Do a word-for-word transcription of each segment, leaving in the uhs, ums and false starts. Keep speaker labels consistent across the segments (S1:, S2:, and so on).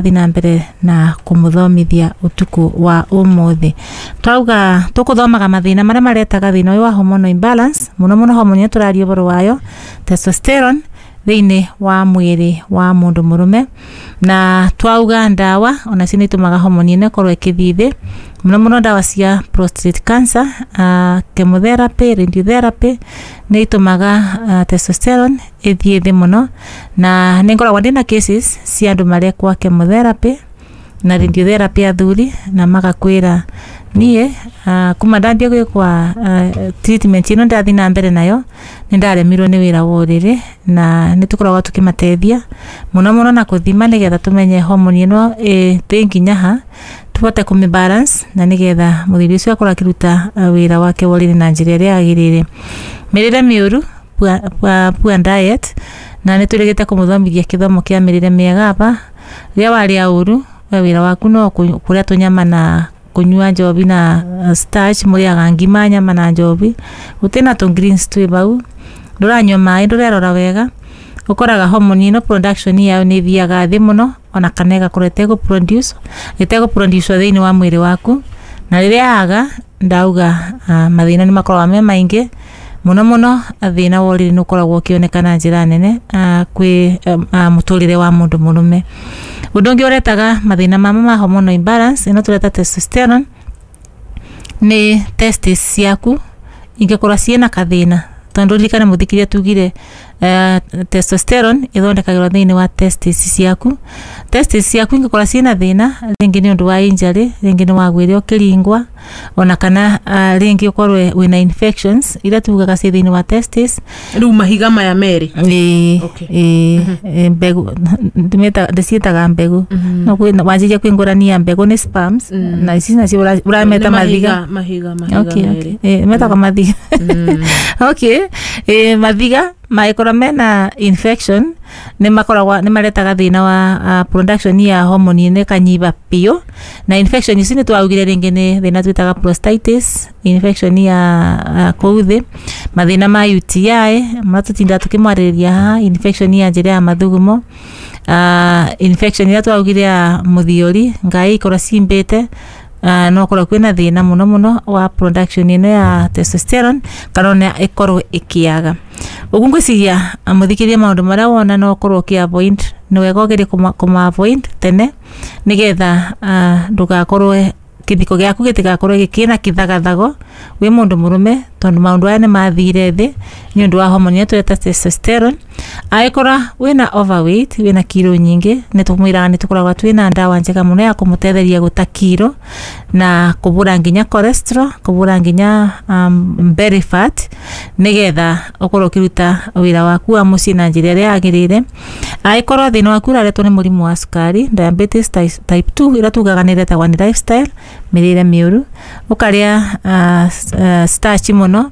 S1: Thiĩ na mbere na kũmũthomithia ũtukũ wa ũmũthĩ. Twauga tũkũthomaga mathĩna marĩa maretaga thĩna ũyũ wa hormonal imbalance, mũno mũno hormone ĩrĩa tũraria ũhoro wayo, testosterone, thĩinĩ wa mwĩrĩ wa mũndũ mũrũme. Na twauga ndawa onacio nĩ itũmaga hormone ĩno ĩkorwo ĩkĩthiĩ thĩ, mũno mũno ndawa cia prostate cancer, uh, chemotherapy, radiotherapy nĩ itũmaga uh, testosterone ĩthiĩ thĩ mũno. Na nĩ ngoragwo ndĩna cases cia andũ marekwo chemotherapy na radiotherapy, athuri, na magakwĩra, "Niĩ uh, kuma ndambia gwĩkwa uh, treatment ĩno, ndathiĩ na mbere nayo, nĩ ndaremirwo nĩ wĩra wa ũrĩrĩ." Na nĩ tũkoragwo tũkĩmateithia mũno mũno na kũthima, nĩgetha tũmenye hormone ĩno ĩ nginya ha, tũhote kũmĩ balance, na nĩgetha mũthuri ũcio akorwo akĩruta wĩra wake wa ũrĩrĩ na njĩra ĩrĩa yagĩrĩire. Mĩrĩre mĩũru, poor, poor, poor diet, na nĩ tũrĩgĩte kũmũthomithia kĩthomo kĩa mĩrĩre mĩega aba. Rĩrĩa warĩa ũru, we wĩra waku no kũrĩa tũnyama na kũnyua njobi na starch, mũrĩaga ngima, nyama na njobi, gũtirĩ na tũ greens twĩ bau, ndũranyua maĩ, ndũrerora wega, ũkoraga hormone ĩno production yayo nĩ ĩthiaga thĩ mũno, ona kana ĩgakorwo ĩtegũ produce ĩtegũ produce thĩinĩ wa mwĩrĩ waku. Na rĩrĩa yaga, ndauga uh, mathĩna nĩ makoragwo me maingĩ mũno mũno. Thĩna wa ũrĩrĩ nĩ ũkoragwo ũkĩoneka na njĩra nene uh, kwĩ uh, mũtũrĩre wa mũndũ mũrũme. Ũndũ ũngĩ ũretaga mathĩna mama ma hormonal imbalance ĩno tũreta testosterone nĩ testis ciaku ingĩkorwo ciĩna kathĩna, tondũ ririkane, mũthikĩria, tugire uh, testosterone ĩthondekagĩrwo thĩinĩ wa testis ciaku. Testis ciaku ingĩkorwo ciĩna thĩna, rĩngĩ nĩ ũndũ wa injury, rĩngĩ nĩ wagwĩre ũkĩringwa, ona kana uh, rĩngĩ ũkorwo wĩna infections iria tugaga ciĩ thĩinĩ wa testis.
S2: Rĩu mahiga maya merĩ?
S1: Ĩĩ.
S2: Okay.
S1: Ĩĩ, ĩ, mbegũ ndĩmĩtaga, ndĩciĩtaga mbegũ, no kwĩ wanjĩria kwĩngũrania mbegũ nĩ sperms na ici nacio ũra- ũrameta
S2: Nĩ
S1: mathiga.
S2: Mahiga, mahiga
S1: okay,
S2: merĩ.
S1: okay. Eh, metagwo mathiga. Okay, eh, mathiga mangĩkorwo mena infection nĩ makoragwo nĩ maretaga thĩna wa uh, production ya hormone ĩno ĩkanyiba biũ. Na infection ici nĩ twaugire rĩngĩ nĩ thĩna twĩtaga prostatitis, infection ya uh, kũu thĩ, mathĩna ma U T I marĩa tũtindaga tũkĩmwarĩrĩria haha, infection ya njĩra ya mathugumo, uh, infection ĩrĩa twaugire ya mũthiori, ngai ikorwo cimbĩte, uh, no korwo kwĩna thĩna mũno mũno wa production ĩno ya testosterone, kana ona ĩkorwo ĩkĩaga ũguo. Ngwĩciria, mũthikĩria, maũndũ marĩa wona no ũkorwo ũkĩ avoid, nĩ wega ũgerie kũma kũma avoid tene, nĩgetha uh, ndũgakorwo kĩthiko gĩaku gĩtigakorwo gĩkĩna kĩthagathago wĩ mũndũ mũrũme, tondũ maũndũ aya nĩ mathire thĩ nĩ ũndũ wa hormone ĩrĩa tũreta testosterone. Angĩkorwo wĩna overweight, wĩna kiro nyingĩ, nĩ tũmwĩraga nĩ tũkoragwo twĩna ndawa njega mũno ya kũmũtetheria gũta kiro na kũbũra nginya cholesterol, kũbũra nginya um, belly fat, nĩgetha ũkorwo ũkĩruta wĩra waku wa mũciĩ na njĩra ĩrĩa yagĩrĩire. Angĩkorwo thĩna waku ũraretwo nĩ mũrimũ wa cukari, diabetes type type two, ĩrĩa tugaga nĩ ĩretagwo nĩ lifestyle, mĩrĩre mĩũru, ũkarĩa uh, uh, starch mũno,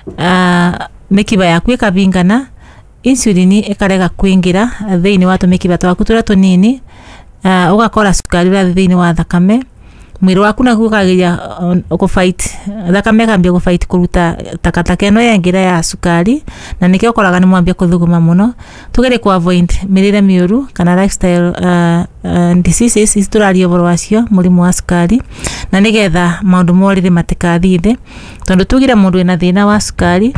S1: uh, mĩkiba yaku ĩkabingana, insulin ĩkarega kũingĩra thĩinĩ wa tũmĩkiba twaku tũrĩa tũnini, uh, ũgakora cukari ũrathiĩ thĩinĩ wa thakame, mwĩrĩ waku naguo ũkageria uh, kũfight, thakame ĩkambia gũfight kũruta takataka ĩno yaingĩra ya cukari, na nĩkĩo ũkoraga nĩ mwambia kũthuguma mũno. Tũgerie ku avoid mĩrĩre mĩũru kana lifestyle uh, uh, diseases ici tũraria ũhoro wacio, mũrimũ wa cukari, na nĩgetha maũndũ ma ũrĩrĩ matikathiĩ thĩ, tondũ tugire mũndũ wĩna thĩna wa cukari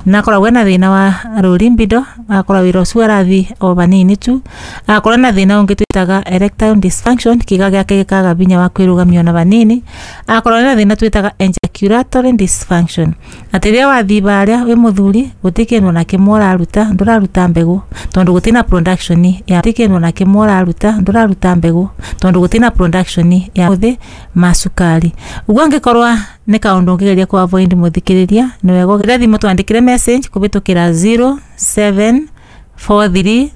S1: na akoragwo ena thĩna wa low libido, agakorwo wĩra ũcio arathiĩ o vanini tu, agakorwo na thĩna ũngĩ twĩtaga erectile dysfunction, kĩga gĩake gĩkaga vinya wa kwĩrũgamia ona vanini, agakorwo na thĩna twĩtaga ejaculatory dysfunction, atĩ rĩrĩa wathiĩ barĩa wĩ mũthuri, gũtirĩ kĩndũ ona kĩmwe ũraruta, ndũraruta mbegũ tondũ gũtirĩ na production ya, gũtirĩ kĩndũ ona kĩmwe ũraruta, ndũraruta mbegũ tondũ gũtirĩ na production ya ũthĩ ma cukari. Ũguo angĩkorwo nĩ kaũndũ ũngĩgeria ku avoid, mũthikĩrĩria, nĩ wega ũgĩre thimũ, twandĩkĩre message kũhĩtũkĩra zero seven four three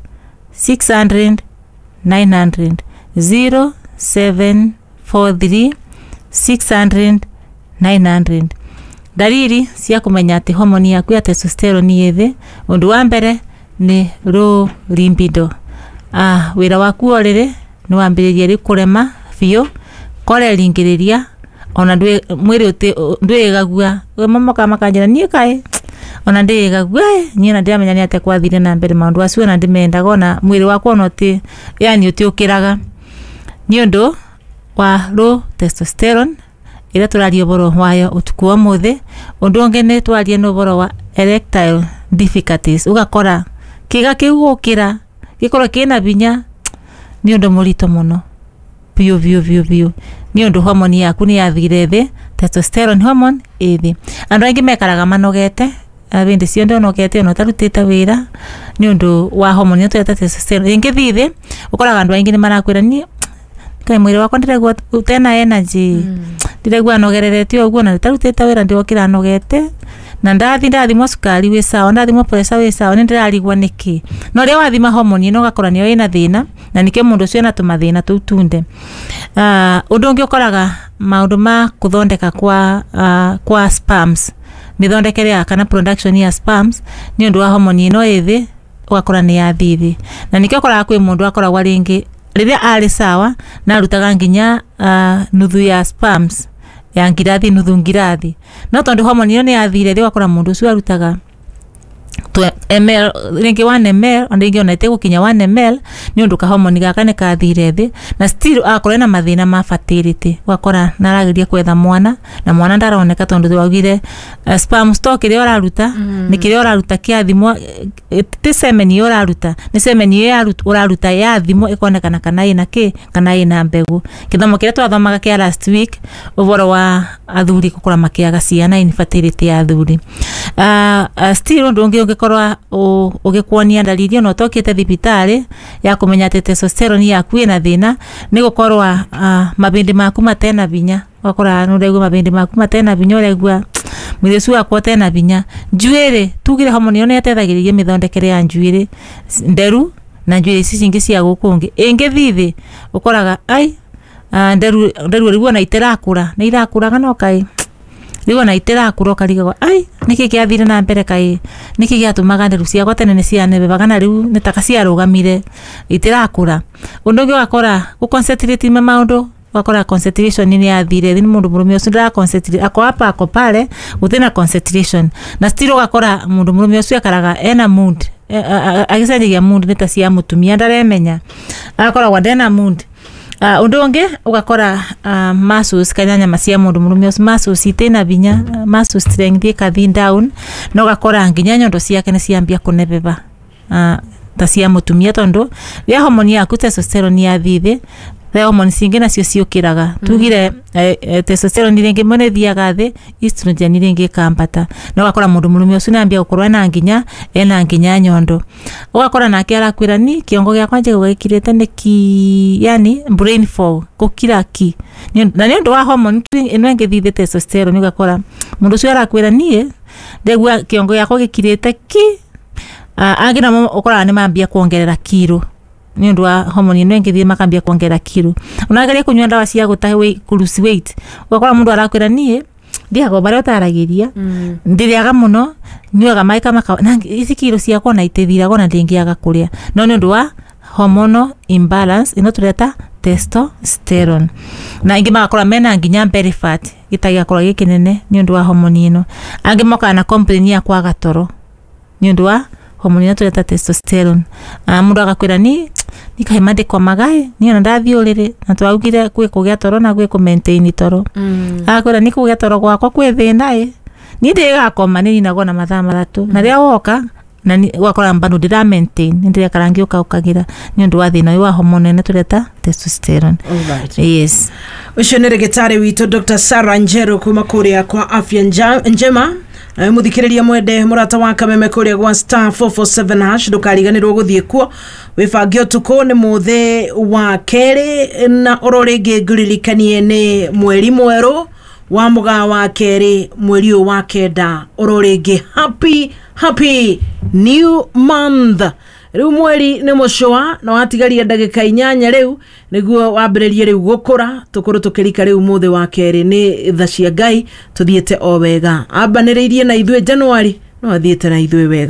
S1: six hundred nine hundred, zero seven four three six hundred nine hundred. Ndariri cia kũmenya atĩ homoni yaku ya testosterone ĩ thĩ: ũndũ wa mbere nĩ low libido, ah, wĩra waku wa ũrĩrĩ nĩ wambĩrĩria rĩu kũrema biũ, koreringĩrĩria, ona ndwĩ mwĩrĩ ndwĩgagua. Mokaga makanjĩra, "Niĩ kaĩ ona ndĩgagua, niĩ na ndiramenya nĩ atĩa kwathire na mbere maũndũ acio, ona ndĩmendaga, ona mwĩrĩ wakwa ona ũtĩ yani ũtiũkĩraga." Nĩ ũndũ wa low testosterone ĩrĩa tũraria ũboro wayo ũtukũ wa ũmũthĩ. Ũndũ ũngĩ nĩ twarie nĩ ũboro wa erectile difficulties, ũgakora kĩga kĩu gũkĩra gĩkorwo kĩna binya nĩ ũndũ mũritũ mũno biũ biũ biũ biũ, nĩ ũndũ hormone yaku nĩ yathire thĩ, testosterone hormone ĩ thĩ. Andũ aingĩ mekaraga manogete hĩndĩ ciothe, ũnogete ona ũtarutĩte wĩra, nĩ ũndũ wa hormone ĩno tweta testosterone ĩngĩthiĩ thĩ. Ũkoraga andũ aingĩ nĩ marakwĩra, niĩ kaĩ mwĩrĩ wakwa ndĩraigua ũtena energy, ndĩraigua nogererete ũguo na itarutĩte wĩra, ndĩrokĩra nogete na ndathi ndathimwo cukari wĩ sawa, ndathimwo pressure wĩ sawa, nĩ ndĩrarigwo nĩkĩ. No rĩrĩa wathima hormone ĩno ũgakora nĩyo ĩna thĩna, na nĩkĩo mũndũ ũcio ena tũmathĩna tũu tunde. uh, ũndũ ũngĩ ũkoraga maũndũ ma kũthondeka kwa, uh, kwa sperms, mĩthondekere ya kana production ya sperms, nĩ ũndũ wa hormone ĩno ĩ thĩ, ũgakora nĩ yathiĩ thĩ. Na nĩkĩo ũkoraga kwĩ mũndũ akoragwo rĩngĩ rĩrĩa arĩ sawa na arutaga nginya uh, nuthu ya sperms ya ngirathi, nuthu ngirathi, no tondũ hormone ĩyo nĩ yathire thĩ, ũgakora mũndũ ũcio arutaga ml rĩngĩ one ml, ona rĩngĩ ona ĩtegũkinya one ml, nĩ ũndũ kahomoni gaka nĩ kathire thĩ, na still agakorwo ena mathĩna ma fertility. Ũgakora narageria kwetha mwana na mwana ndaroneka, tondũ waugire uh, sperm stock ĩrĩa ũraruta mm. nĩ kĩrĩa ũraruta kĩathimwo, eh, ti semen ĩyo ũraruta, nĩ semen ĩyo ũraruta yathimwo ĩkonekana kana ĩna kĩ, kana ĩna mbegũ. Gĩthomo kĩrĩa twathomaga kĩa last week, ũboro wa athuri gũkũra makĩaga ciana, infertility ya athuri. uh, uh, still ũndũ ũngĩ ũngĩkorwo ũgĩkuonia ndariri ona ũtokĩte thibitarĩ ya kũmenya atĩ testosterone yaku ĩna thĩna nĩ gũkorwo uh, mabĩndĩ maku matena binya. Ũgakora nĩ ũraigua mabĩndĩ maku matena binya, ũraigua mwĩrĩ ũcio wakwa ũtena binya. Njuĩrĩ, tugire homoni ĩyo nĩ ĩteithagĩrĩria mĩthondekere ya njuĩrĩ nderu na njuĩrĩ ici cingĩ cia gũkũ ngĩ. Ĩngĩthiĩ thĩ, ũkoraga ai nderu nderu rĩu ona itirakũra, nĩ irakũraga no kaĩ rĩu ona itirakũra, ũkarigagwo ai nĩkĩ kĩathire na mbere, kaĩ nĩkĩ gĩatũmaga nderu ciakwa tene nĩ cianebebaga na rĩu nĩ taka ciarũgamire itirakũra. Ũndũ ũngĩ ũgakora gũ concentrate na maũndũ, ũgakora concentration nĩ yathire thĩ, nĩ mũndũ mũrũme ũcio ndara concentrate, ako hapa ako pale, gũtirĩ concentration. Na still ũgakora mũndũ mũrũme ũcio akaraga ena mood, agĩcenjagia mood nĩ ta cia mũtumia, ndaremenya, agakoragwo ndena mood. Ũndũ ũngĩ ũgakora uh, muscles kana nyama cia mũndũ mũrũme ũcio, muscles itina binya, muscle strength ĩkathi down, na ũgakora nginya nyondo ciake nĩ ciambia kũnebeba uh, ta cia mũtumia, tondũ rĩrĩa homoni yaku testosterone yathiĩ thĩ, the hormone cingĩ nacio ciũkĩraga. Tugire eh, eh, testosterone rĩngĩ mwene ĩthiaga thĩ, estrogen rĩngĩ ĩkambata, na ũgakora mũndũ mũrũme ũcio nĩambia gũkorwo ena nginya ena nginya nyondo. Ũgakora nake arakwĩra, ni kĩongo gĩakwa njiguaga gĩkirĩte nĩki, yani brain fog, gũkira ki, na nĩ ũndũ wa hormone ĩno ĩngĩthiĩ thĩ, testosterone. Ũgakora mũndũ ũcio arakwĩra, niĩ ndegua kĩongo gĩakwa gĩkirĩte ki. uh, angĩ namo ũkoraga nĩ mambia kuongerera kiro nĩ ũndũ wa homoni ĩno ĩngĩthiĩ, makambia kuongerera kiro. Unageria kũnyua ndawa cia gũtahe kũ lose weight, ũgakora mũndũ arakwĩra, niĩ ndiaga barĩa ũtaragĩria, ndĩrĩaga mũno, nyuaga maĩ kama na ici kiro ciakwa ona itithiraga ona ndĩngĩaga kũrĩa, no nĩ ũndũ wa hormonal imbalance ĩno tũreta testosterone. Na ingĩ magakora mena nginya belly fat, gĩta gĩgakorwo gĩ kĩnene nĩ ũndũ wa homoni ĩno. Angĩ mokaga na complain ya kwaga toro nĩ ũndũ wa homoni ĩno tũreta testosterone. uh, mũndũ agakwĩra, ni nikahima ndĩkomaga ĩ niĩ ona ndathiĩ ũrĩrĩ, na twaugire gwĩ kũgĩa toro na gwĩ kũ maintain toro. Agakwĩra, ni kũgĩa toro gwakwa kwĩ thĩna ĩ, niĩ ndĩgakoma nĩ ninagwo na mathaa matatũ, na rĩrĩa woka na ũgakora bado ndĩra maintain, nĩ ndĩrekara ngĩũkaũkagĩra nĩ ũndũ wa thĩna ũyũ wa homoni ĩno tũreta testosterone.
S2: Alright.
S1: Yes.
S2: Ũcio nĩ rĩgĩtarĩ witũ Doctor Sarah Njeru kuma kũrĩa kwa Afya Nja- Njema. Nawe mũthikĩrĩria mwende mũrata wa kameme kũrĩa gwa star four four seven hash, ndũkariganĩrwo gũthiĩ kuo wĩbange ũtukũ nĩ mũthĩ wa kerĩ, na oro rĩngĩ ngũririkanie nĩ mweri mwerũ wa mũgaa wa kerĩ, mweri ũyũ wa kenda. Oro rĩngĩ, happy happy new month. Rĩu mweri nĩ mũcũa na watigaria ndagĩka inyanya rĩu nĩguo wambĩrĩrie rĩu gũkũra, tũkorwo tũkĩrika rĩu mũthĩ wa kerĩ. Nĩ tha cia Ngai tũthiĩte o wega, ambanĩrĩirie na ithuĩ Januari no athiĩte na ithuĩ wega.